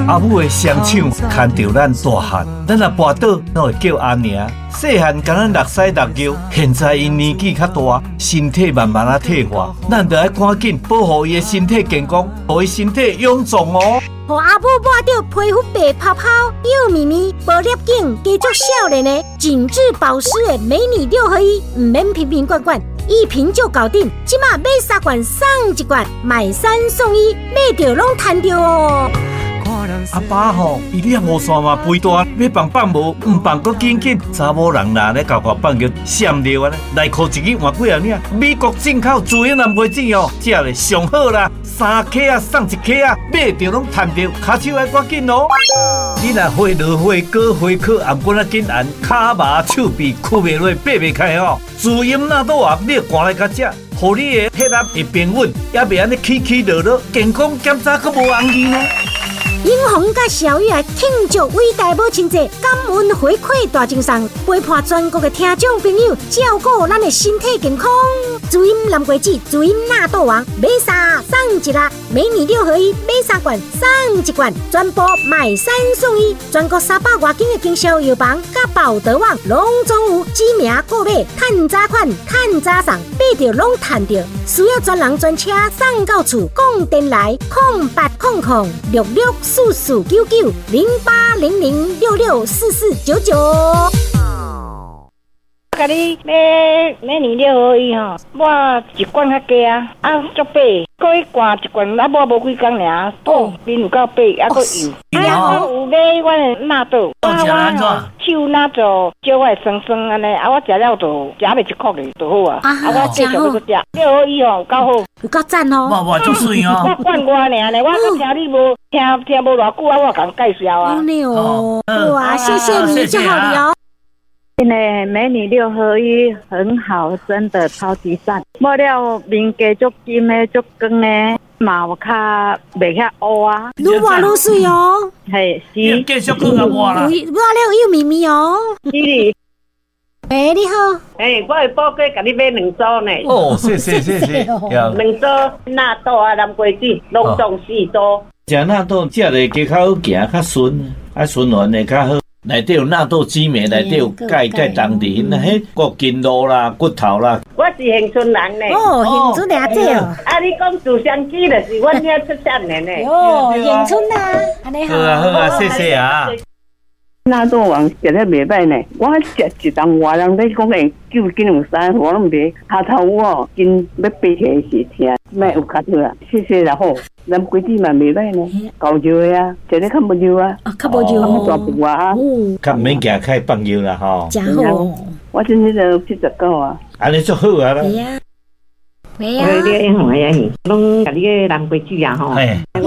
阿母的雙手牽著咱大漢，咱若跋倒，攏會叫阿娘。細漢共咱落屎落尿，現在𪜶年紀較大，身體慢慢仔退化，咱著愛趕緊保護伊的身體健康，予伊身體勇壯哦。予阿母抹著皮膚白泡泡、幼咪咪、無裂頸、加足少年的緊緻保濕的美女六合一，毋免瓶瓶罐罐，一瓶就搞定。這馬買三罐送一罐，買三送一，買著攏趁著哦。阿爸吼，伊攝雨傘嘛肥大，欲放放無，毋放閣緊緊。查某人啦，咧厚厚放叫閃尿按呢，內褲一支換幾仔領。美國進口自然藍瓜子哦，食咧上好啦，三克仔送一克仔，買著攏趁著，跤手愛趕緊哦。你若火落火高火烤，頷骨仔緊絚，跤麻手臂屈袂落，爬袂開吼，滋陰納豆王，你趕來共食，予你的血壓會平穩，也袂按呢起起落落，健康檢查閣無紅字呢。英雄佮小雨來慶祝偉大母親節，感恩回饋大贈送，陪伴全國的聽眾朋友，照顧咱的身體健康。滋陰藍瓜子，滋陰納豆王，買三送一啦，美女六合一，買三罐送一罐，全部買三送一，全國300外間的經銷藥房佮寶德網攏總有，指名購買，趁早款，趁早送，買著攏趁著。需要專人專車送到厝，講電來08006644990800664499。我共你買美女六合一吼，抹一罐較低啊，啊足白，閣一罐一罐啊抹無幾工爾，哦，面有夠白，啊閣幼。啊，我有買阮的納豆，我我手若做少我會酸酸按呢，啊我食了就食袂一箍的就好啊，啊我繼續閣食六合一吼有夠好，有夠讚哦，哇哇足媠哦。我灌我爾呢，我閣聽你無聽聽無偌久啊，我共介紹啊。哦，哇，謝謝你，祝福你哦。真的美女六合一很好，真的超級讚。抹了面加足金的，足光的，嘛有較袂遐烏啊。愈抹愈媠哦。嘿，是。繼續閣共抹啦。抹了幼咪咪哦。是。喂，你好。欸，我的寶哥共你買兩組呢。哦，謝謝謝謝。兩組納豆啊，藍瓜子，攏總四組。食納豆食咧加較好行，較順，啊循環會較好。內底有納豆酯酶，內底有鈣鈣當地，那彼個筋肉啦、骨頭啦。我是恆春人呢。哦，恆春阿姐哦。啊，你講照相機就是阮遐出產的呢。哦，恆春啊，按呢好。好啊好啊，謝謝啊。納豆王食了袂䆀呢，我食一冬外人咧講會救緊有啥，我攏袂。跤頭哦，筋欲爬起來時疼，莫有較好啊，謝謝啦好。藍瓜子嘛袂䆀呢，夠熱的啊，食咧較無熱啊，較無熱，較大步啊，較毋免行開放藥啦吼。誠好，我這彼個79啊，按呢足好啊啦。係啊。喂啊！你英雄的兄，攏共你个藍瓜子啊吼。你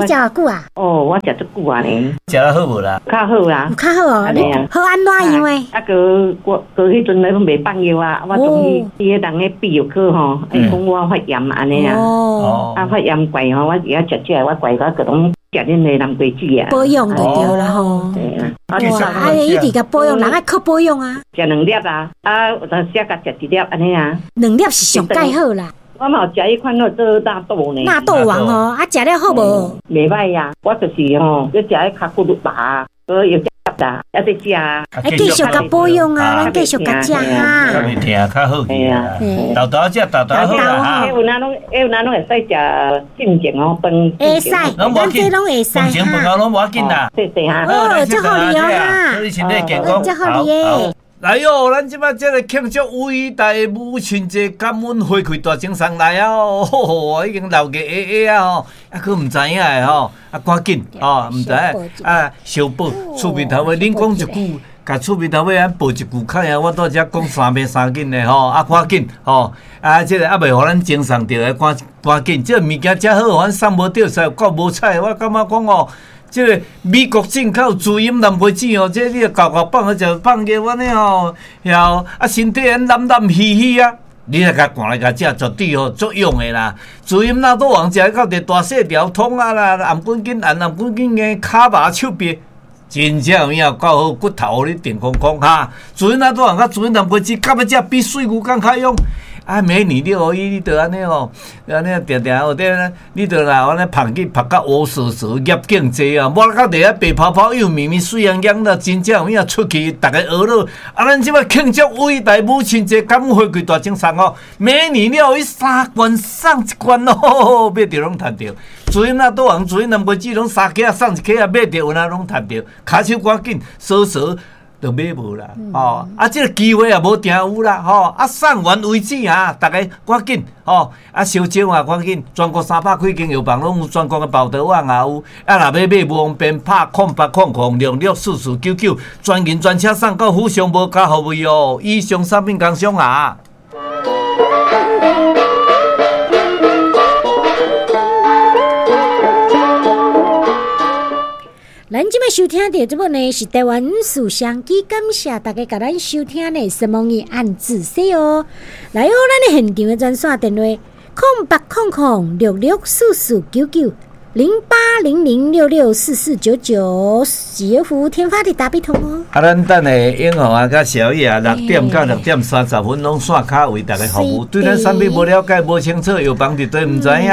食偌久啊？哦，我食足久啊呢。食得好無啦？較好啦。有較好哦，你好按怎樣的？啊，閣我閣彼陣咧攏袂放藥啊，我終於彼个人咧泌尿科吼，伊講我發炎按呢啊。哦。啊，發炎怪吼，我而家食這個，我怪我閣攏食恁的藍瓜子啊。保養就對啦吼。對啊。哇，啊，一直共保養，人愛靠保養啊。食兩粒啊，啊，有當時共食一粒按呢啊。兩粒是上蓋好啦。我嘛有食彼款做納豆呢。納豆王哦，啊，食了好無？袂䆀啊，我就是吼，咧食彼跤骨麻，閣又食啦，猶咧食啊。繼續共保養啊，咱繼續共食哈。較袂疼，較好去啊。豆豆食豆豆好啦。彼有哪攏，彼有哪攏會使食進前哦，飯。會使，咱這攏會使哈。飯前飯後攏無要緊啦。謝謝哈。好，祝福你哦哈。祝你身體健康。祝福你耶。來喲，咱這擺這個慶祝偉大的母親節，感恩回饋大贈送來啊！哦，已經鬧熱熱啊吼，啊，閣毋知影的吼，啊，趕緊哦，毋知影啊，小寶厝邊頭尾，恁講一句，共厝邊頭尾按報一句較爾，我拄才講三遍三緊的吼，啊，趕緊吼，啊，這個猶未予咱贈送著的，趕趕緊，這個物件遮好，阮送無著，實有夠無彩，我感覺講哦。這個美國進口滋陰藍瓜子哦，這你厚厚放去就放尿按呢吼，曉啊身體按懶懶虛虛啊，你若共趕來共食，絕對吼足用的啦。滋陰納豆王食到佇大細條通啊啦，頷骨緊按頷骨緊硬，跤麻手臂，真正有影夠好，骨頭予你定空空哈。滋陰納豆王佮滋陰藍瓜子，到尾食比水牛佫較勇。啊，美女六合一，你著按呢吼，按呢定定有咧，你著若按呢捧去曝甲乌趖趖，业境济啊，无到伫遐白泡泡又绵绵水泱泱啦，真正有影出去，逐家学乐。啊，咱这摆庆祝伟大母亲节，感恩回馈大奖送哦，美女六合一三罐送一罐哦，买著拢趁著。主任啊，倒红主任南瓜子拢三克送一克啊，买著有哪拢趁著，跤手赶紧，锁锁。就买无啦，吼！啊，这个机会也无定有啦，吼！啊，送完为止啊，逐家赶紧，吼！啊，烧招啊，赶紧！全国300几间药房拢有，全国的报道网也有。啊，若欲买无方便，拍0800 064499，专人专车送到府上，无加服务费哦。以上产品工商啊。咱这摆收听著这部呢是台湾事商机，感谢大家共咱收听的什么语按自说哦。来哦，咱的现场的专线电话0800 6644990800664499，是服务天发的打比通哦。啊，咱等下英雄啊，佮小叶啊，6点到6点30分拢线卡为大家服务。对咱产品无了解、无清楚，药房伫佗毋知影，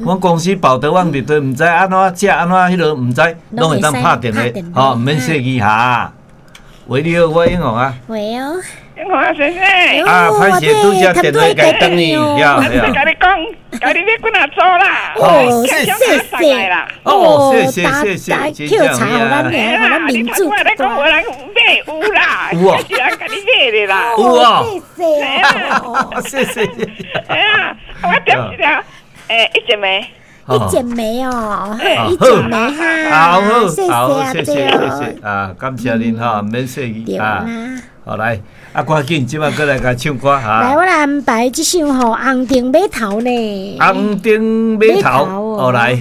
阮公司报道网伫佗毋知，按怎食按怎彼落毋知，拢会当拍电话，吼，毋免说伊哈。喂，你好，我英雄啊。喂哦。英雄啊，先生。啊，歹势，拄则电话共转去，我共你讲，共你买几若组啦。哦，谢谢啦。哦，谢谢谢谢，捡柴予咱尔，予咱民主。我咧讲有人买有啦，有啊，是人共你买的啦。有啊，谢谢。谢谢。哎呀，我点一条，一一枚。一剪梅哦，一剪梅哈，好，好，谢谢谢谢啊，感谢您哈，免客气啊，好来，啊，赶紧，这摆阁来共唱歌哈。来，我来安排这首吼《红灯码头》呢。红灯码头，哦来。